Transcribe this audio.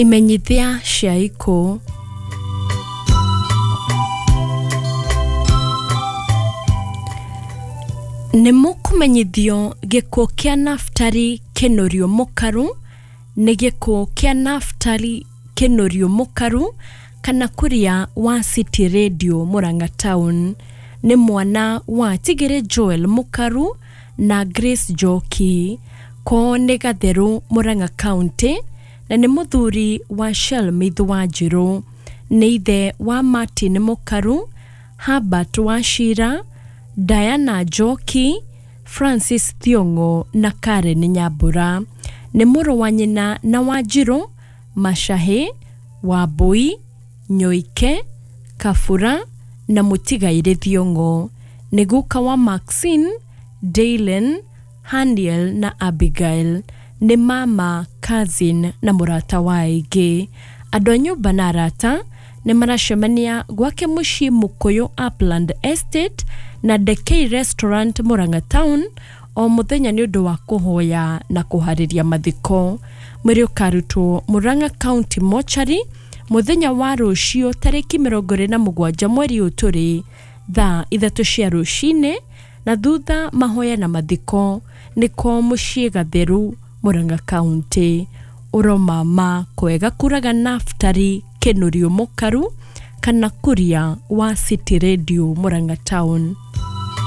Imenyithia cia ikuũ. Nĩ mũkũmenyithio gĩkuũ kĩa Naftali Kĩnũrio Mũkaru nĩ gĩkuũ kĩa Naftali Kĩnũrio Mũkaru kana Kuria wa City Radio Murang'a Town. Nĩ mwana wa Tigĩrĩ Joel Mũkaru na Grace Njoki. Kwao nĩ Gatheru Murang'a County na nĩ mũthuri wa Shelmith Wanjirũ. Nĩ ithe wa Martin Mũkaru, Herbert Wachira, Diana Njoki, Francis Thiong'o na Karen Nyambura. Nĩ mũrũ wa nyina na Wanjirũ, Machahi, Wambui, Nyoike, Kabura na mũtigairĩ Thiong'o. Nĩ guka wa Maxine, Daylen, Haniel na Abigail. Nĩ mama, cousin na mũrata wa aingĩ. Andũ a nyũmba na arata nĩ maracemania gwake mũciĩ Mũkũyũ Upland Estate na Dekei Restaurant Murang'a Town o mũthenya nĩ ũndũ wa kũhoya na kũharĩria mathiko. Mwĩrĩ ũkarutwo Murang'a County Mortuary mũthenya wa rũciũ tarĩki 27 mweri ũyũ tũrĩ thaa 3 cia rũcinĩ na thutha mahoya na mathiko nĩ kwao mũciĩ Gatheru Murang'a County. Ũromama kwega kuraga Naftali Kĩnũrio Mũkaru kana Kuria wa City Radio Murang'a Town.